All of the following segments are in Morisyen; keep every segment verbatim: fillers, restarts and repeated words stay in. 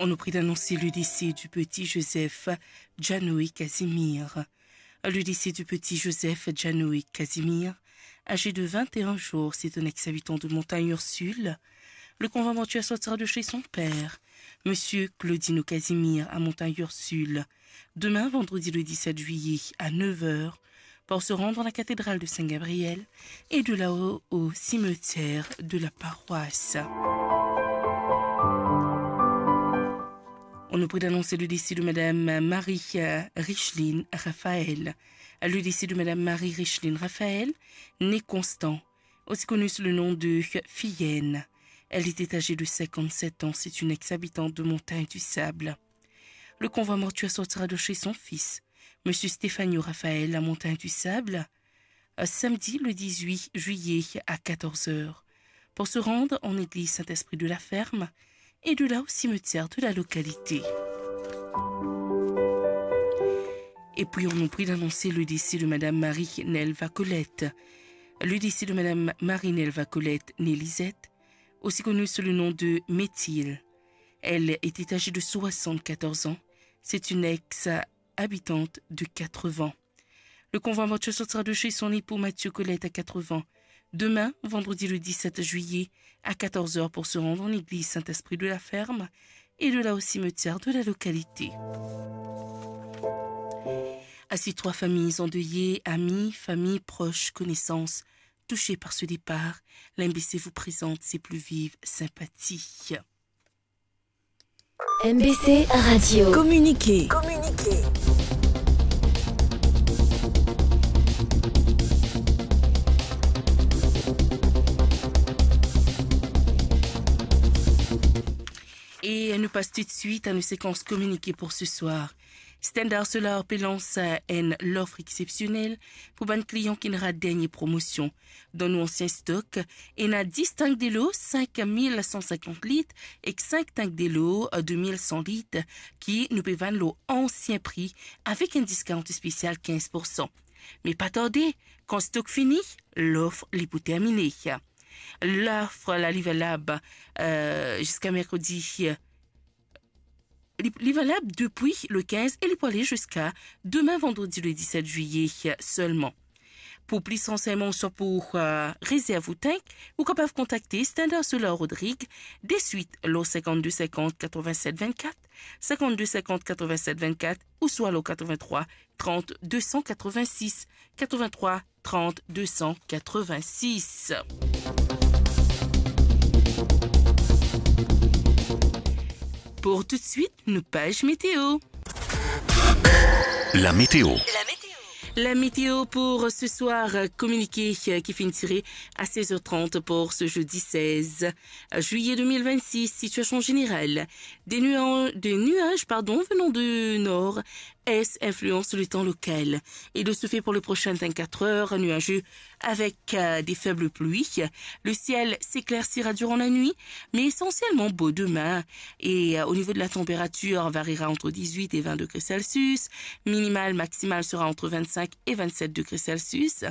On nous prie d'annoncer le décès du petit Joseph Janoé Casimir. Le décès du petit Joseph Janoé Casimir, âgé de vingt et un jours, c'est un ex-habitant de Montagne Ursule. Le convoi mortuaire sortira de chez son père, monsieur Claudino Casimir, à Montagne Ursule, demain, vendredi le dix-sept juillet, à neuf heures, pour se rendre dans la cathédrale de Saint-Gabriel et de là au, au cimetière de la paroisse. On nous prie d'annoncer le décès de Madame Marie, euh, Richline Raphaël. Le décès de Madame Marie Richline Raphaël, née Constant, aussi connue sous le nom de Fillenne. Elle était âgée de cinquante-sept ans. C'est une ex-habitante de Montagne du Sable. Le convoi mortuaire sortira de chez son fils, monsieur Stefano Raphaël, à Montagne du Sable, euh, samedi le dix-huit juillet à quatorze heures, pour se rendre en église Saint-Esprit de la Ferme et de là au cimetière de la localité. Et puis, on nous prie d'annoncer le décès de Madame Marie-Nelva Colette. Le décès de Madame Marie-Nelva Colette, née Lisette, aussi connue sous le nom de Métil. Elle était âgée de soixante-quatorze ans. C'est une ex-habitante de Quatre-Vents. Le convoi mortuaire sortira de chez son époux Mathieu Colette à Quatre-Vents demain, vendredi le dix-sept juillet, à quatorze heures, pour se rendre en église Saint-Esprit de la Ferme et de là au cimetière de la localité. À ces trois familles endeuillées, amis, famille, proches, connaissances, touchées par ce départ, l'M B C vous présente ses plus vives sympathies. M B C Radio. Communiqué. E nou pas toutswit a nou sekans kominike pou se swar. Standard Solar pe lans enn lof exsepsionel pou bann klian ki ena dernie promosion. Dan nou ansien stok, ena dis tank delo sink mil san sinkant lit ek sink tank delo de mil san lit ki nou pe vann lor ansien pri avek enn discount spesial kinz poursan. Me pa tarde, kan stok fini, lof li pou termine. Lof la li valab, euh, ziska merkredi, li, li valab depi le kinz e li pou ale ziska demin, vandredi le diset zilye selman. Pou plis ransegnman, swa pou, euh, rezerv ou tank, ou kapav kontakte Standard Solar Rodrigue deswit lor sinkant-de sinkant katrevinset vennkat, sinkant-de sinkant katrevinset vennkat, ouswa lor katrevintrwa trant de san katrevinsis, katrevintrwa trant de san katrevinsis. Pou toutswit, nou paz meteo. La météo. La météo pour ce soir, kominike ki finn tire a sez er trant pou se zedi sez zilye de mil vennsis. Sitiasion zeneral, des nua-, des nuages, pardon, venant de nord-est influencent le temps local. Et de ce fait, pour les prochaines vingt-quatre heures, nuageux avec, euh, des faibles pluies. Le ciel s'éclaircira durant la nuit, mais essentiellement beau demain. Et, euh, au niveau de la température, on variera entre dix-huit et vingt degrés Celsius. Minimal, maximal sera entre vingt-cinq et vingt-sept degrés Celsius.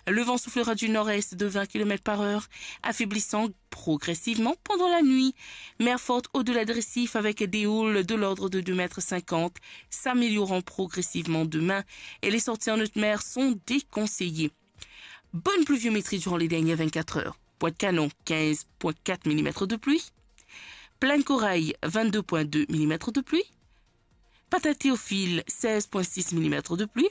Le vent soufflera du nord-est de vingt kilomètres par heure, affaiblissant progressivement pendant la nuit. Mer forte au-delà de récifs avec des houles de l'ordre de deux mètres cinquante, s'améliorant progressivement demain. Et les sorties en haute mer sont déconseillées. Bonne pluviométrie durant les dernières vingt-quatre heures. Pointe-Canon, quinze point quatre millimètres de pluie. Plaine Corail, vingt-deux point deux millimètres de pluie. Patateofil, seize point six millimètres de pluie.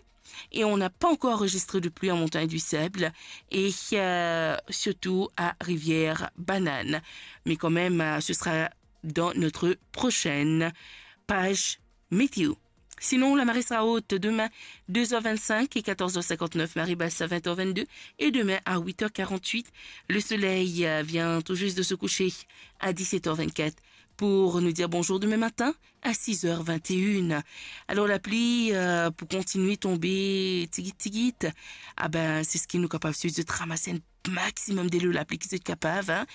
Et on n'a pas encore enregistré de pluie en Montagne du Sable et, euh, surtout à Rivière-Banane. Mais quand même, euh, ce sera dans notre prochaine page météo. Sinon, la marée sera haute demain, deux heures vingt-cinq et quatorze heures cinquante-neuf, marée basse à vingt heures vingt-deux, et demain à huit heures quarante-huit, le soleil, euh, vient tout juste de se coucher à dix-sept heures vingt-quatre pour nous dire bonjour demain matin à six heures vingt et une. Alors, lapli, euh, pou kontinie tonbe tigit tigit, ah ben, se ki nou kapav swete, ramas enn maximum delo lapli ki zot kapav, hein.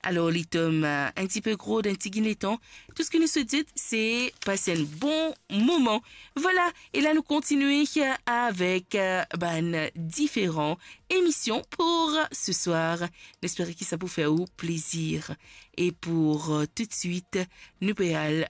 Alors, li tom, euh, enn tipe gro dan enn tigit letan. Tou seki nou swete, se pas enn bon moman. Voilà, e la nou kontinie, euh, avek, euh, bann diferan emision pou se swar. Nou espere ki sa pou fer ou plezir. E pou, euh, toutswit, nou pe al